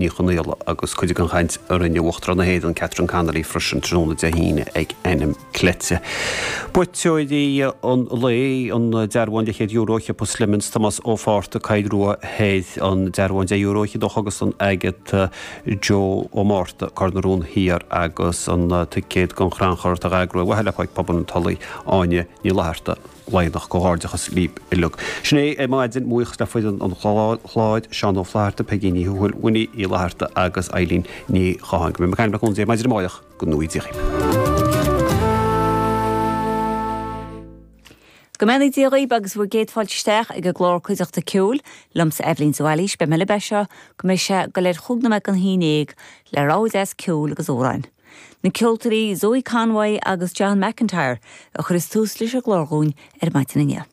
Ní Chonaola agus cuid den chaint a rinne Uachtarán na hÉireann Catherine Connolly freisin tráthnóna Dé hAoine ag Ainm Cleite. Buaiteoirí an lae, an dearbhán leathchéad euro ag Siopa Slemons, Tomás Ó Fátharta, Coill Rua Thoir, an dearbhán 10 euro fhichead ó Chógaslann Agatha, Joe Ó Márta, Cor na Rón Thiar agus an ticéad don chrannchur atá á eagrú ar mhaithe le Páirc Pobail an Tulaigh, Áine Ní Fhlatharta. Laighneach, Comhghairdeachas libh uilig. Sin é ar maidin, buíochas le foireann an chláir, Seán Ó Flatharta, Peigí Ní Thuathail, Winnie Uí Fhlatharta agus Eileen Ní Chatháin. Go mbeidh mé ag caint le cúnamh Dé maidin amárach, go ngnóthaí Dia dhaoibh. Go mbeannaí Dia dhaoibh agus bhur gcéad fáilte isteach ag an gclár Cuideachta Ceoil, liomsa Eibhlín de Bhailís. Beidh mé libh as seo go mbeidh sé ag dul ar chúig nóiméad don haon dhéag le rogha deas ceoil agus amhráin. Na ceoltóirí Zoe Conway agus John McIntyre a chuireas tús leis an gclár dhúinn ar maidin inniu.